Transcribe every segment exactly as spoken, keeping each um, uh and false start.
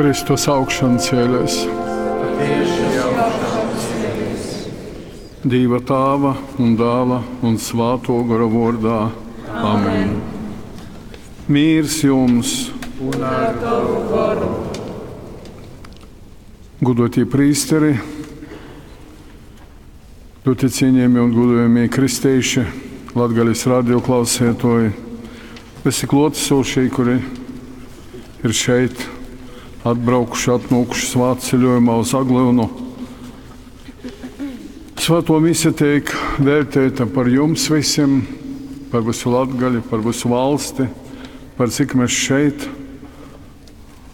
Kristus augšancēlēs. Dīva Tāva un Dāla un Svātō Gora vōrdā. Amen. Mīrs jums! Un ar tavu goru. Godātie prīsteri, ļoti cienījamie un godājamie kristieši, Latgales radio klausētoji, visi klātesošie, kuri ir šeit atbraukuši, atnākuši svētceļojumā uz Aglyunu. Svēto mise tiek vērtēta par jums visiem, par visu Latgali, par visu valsti, par cik mēs šeit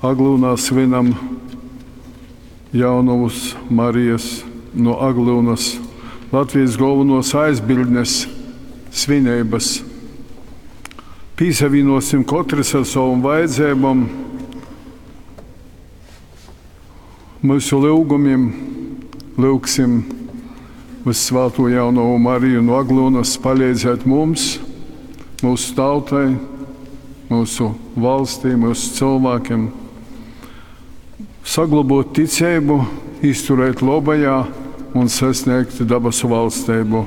Aglyunā svinam Jaunavas Marijas no Aglyunas Latvijas galvenos aizbildnes svinības. Pīsavīnosim katrs ar savam vajadzībām, mūsu lūgumiem, lūgsim Vissvāto Jaunavu Mariju no Aglyunas palīdzēt mums, mūsu tautai, mūsu valstī, mūsu cilvēkiem, saglabot ticību, izturēt labajā un sasniegt dabasu valstību.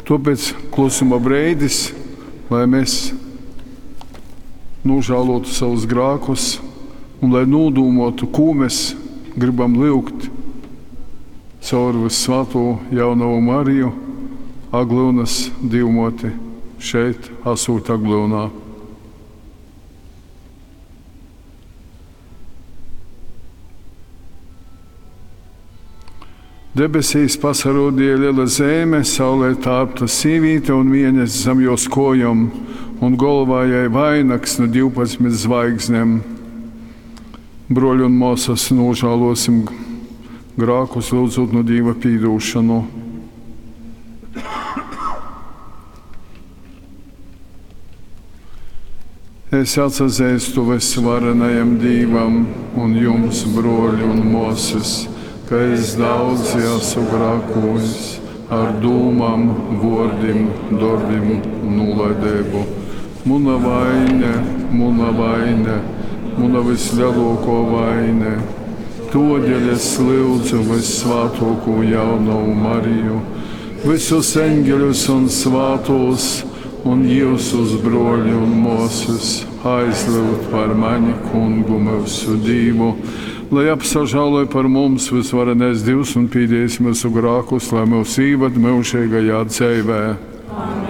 Tāpēc klusuma brīdis, lai mēs nožēlotu savus grēkus un lai nodūmotu, ko mēs gribam lūgt caur Vissvāto Jaunavu Mariju, Aglyunas Dievmoti, šeit, esot Aglyunā. Debesīs pasarodīja liela zeme, saulē tārpta sīvīte un mēness zem jos kojom, un galvā jai vainags no divpadsmit zvaigznēm. Broļi un māsas, nožēlosim grēkus, lūdzot no Dieva piedošanu. Es atzīstu visvarenajam Dievam un jums, broļi un māsas, ka es daudz esmu grēkojis ar dūmām, vārdiem, darbiem un nolaidību. Muna vaine, muna vaine, muna vislielākā vaine. Todēļ es lūdzu Vissvātāko Jaunavu Mariju, visus eņģeļus un svātos, un jūsus broļi un māsas aizlūgt par mani kungu mūsu Dievu, lai apsažāloj par mums visvarenais Dievs un pīdējis mūsu grēkus, lai mūs īvad mūžīgajā dzīvē. Amen.